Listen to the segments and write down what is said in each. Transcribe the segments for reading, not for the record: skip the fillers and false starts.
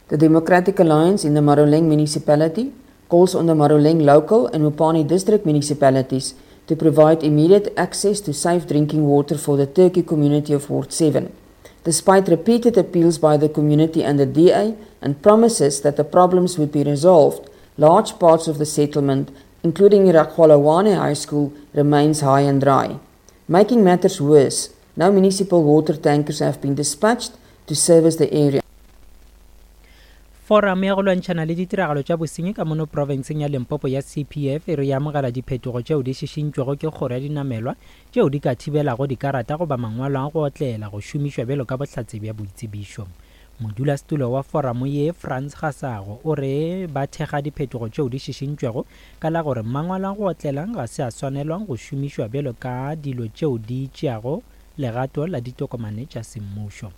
The Democratic Alliance in the Maruleng municipality calls on the Maruleng local and Mopani district municipalities to provide immediate access to safe drinking water for the Turkey community of Ward 7. Despite repeated appeals by the community and the DA and promises that the problems would be resolved, large parts of the settlement, including Rakwalawane High School, remains high and dry. Making matters worse, no municipal water tankers have been dispatched to service the area. Foramo ya go lwantšhana le ditiragalo tša bosenyi ka mono profenseng ya Limpopo ya CPF e re e amogela diphetogo tšeo di šišintšwego ke kgoro ya dinamelwa tšeo di ka thibelago dikarata goba mangwalo a go otlela go šomišwa bjalo ka bohlatse bja boitsebišo. Modulasetulo wa foramo ye, Frans Gasago, o re ba thekga diphetogo tšeo di šišintšwego ka la gore mangwalo a go otlela ga se a swanelwa go šomišwa bjalo ka dilo tšeo di tšeago legato la ditokomane tša semmušo.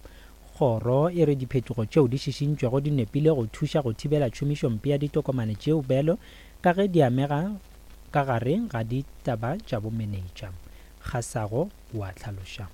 Kgoro e re diphetogo tšeo di šišintšwego di nepile go thuša go thibela tšhomišompe ya ditokomane tšeo bjalo ka ge di amega ka gare ga ditaba tša bomenetša. Kgasago o a hlaloša.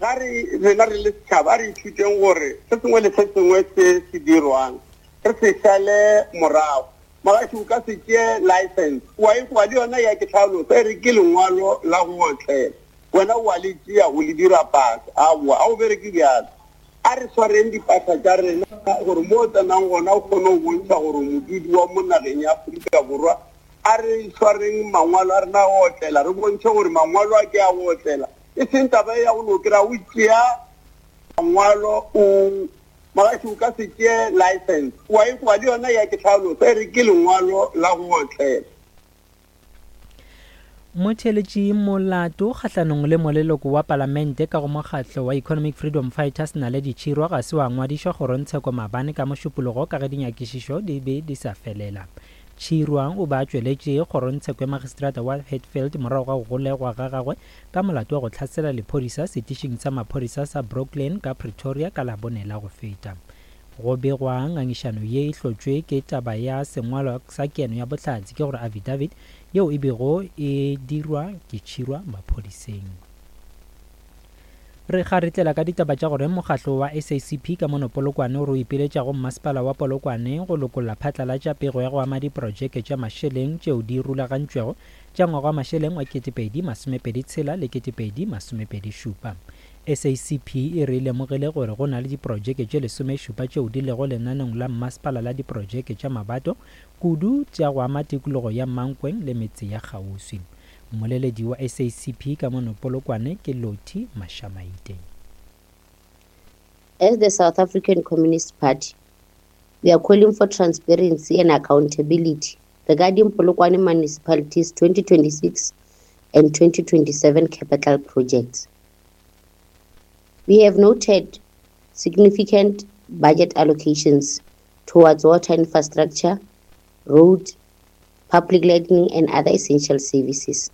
Ga re, rena re le setšhaba, a re ithuteng gore se sengwe le se sengwe se se dirwang re se šale morago. Mogaši o ka se tšee license wa e kwa le yona ya ke hlalosa e re ke lengwalo la go otlela. Wena o a le tšea o le dira pasa. Aowa, a o bereke bjalo. A re swareng dipasa tša rena gore mo o tsenang gona o kgone go bontšha gore o modudi wa mo nageng ya Afrika Borwa. A re swareng mangwalo a rena a go otlela, re bontšhe gore mangwalo a ke a go otlela, e seng taba ye ya go no kry-a o tšea mangwalo o Mogaši o ka se tšee license wa e kwa le yona ya ke hlalosa e re ke lengwalo la go otlela. Motheeletši molato kgahlanong le moleloko wa palamente ka go mokgatlo wa Economic Freedom Fighters Naledi Chirwa ga se wa ngwadišwa kgorongtsheko maabane ka Mošupologo ka ge dinyakišišo di be di sa felela. Chirwa o be a tšweletše kgorongtsheko ya magistrata wa Hatfield morago ga go golegwa ga gagwe ka molato wa go hlasela lephodisa setišing sa maphodisa sa Brooklyn ka Pretoria ka Labone la go feta. Go begwa ngangišano ye e hlotšwe ke taba ya sengwalwa sa keno ya bohlatse, ke gore affidavit, yeo e bego e dirwa ke Tšhirwa maphodiseng. Re kgaritlela ka ditaba tša gore mokgatlo wa SACP ka mono Polokwane o re o ipiletša go mmasepala wa Polokwane go lokolla phatlalatša pego ya go ama diprojeke tša mašeleng tšeo di rulagantšwego tša ngwaga wa mašeleng wa 2026 le 2027. SACP e re e lemogile gore go na le diprojeke tše lesomešupa tšeo di lego lenaneong la mmasepala la diprojeke tša mabato, kudu tša go ama tikologo ya Mankweng le metse ya kgauswi. Mmoleledi wa SACP ka mono Polokwane ke Lottie Mashamaite. As the South African Communist Party, we are calling for transparency and accountability regarding Polokwane Municipality's 2026 and 2027 capital projects. We have noted significant budget allocations towards water infrastructure, road, public lighting and other essential services.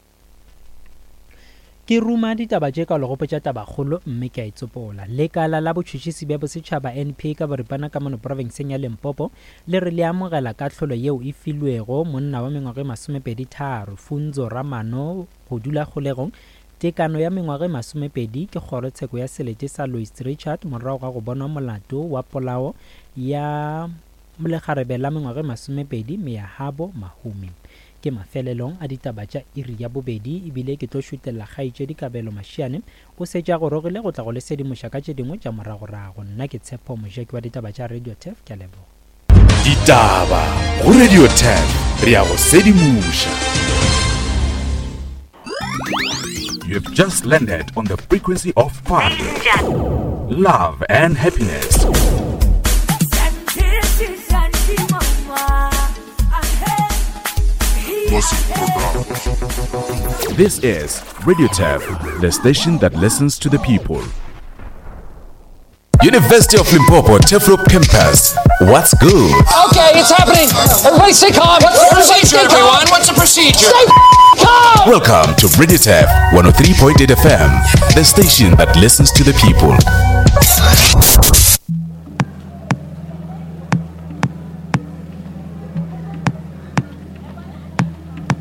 Ke ruma ditaba tše ka legopotša tabakgolo mme ke a e tsopola. Lekala la botšhotšhisi bja bosetšhaba NPA ka boripana ka mono profenseng ya Limpopo le re le amogela kahlolo yeo e filwego monna wa mengwaga e masomepeditharo Funzo Ramano go dula kgolegong Tekano ya mengwaga e masomepedi ke kgorotsheko ya selete sa Louis Trichardt morago ga go bonwa molato wa polao ya lekgarebe la mengwaga e masomepedi Meyahabo Mahumi. Ke mafelelong a ditaba tša iri ya bobedi ebile ke tlo šutella kgaetšedi Kabelo Mashiane o setše a gorogile go tla go le sedimoša ka tše dingwe tša moragorago. Nna ke Tshepo Mojaki wa ditaba tša Radio Turf ke a leboga. Ditaba go Radio Turf re a go sedimoša. You've just landed on the frequency of fun, love and happiness. This is Radio Tap, the station that listens to the people. University of Limpopo Turfloop Campus. What's good? Okay, it's happening. Everybody stay calm. What's the Everybody procedure, stay calm. everyone? What's the procedure? Stay calm. Welcome to Radio Tap 103.8 FM, the station that listens to the people.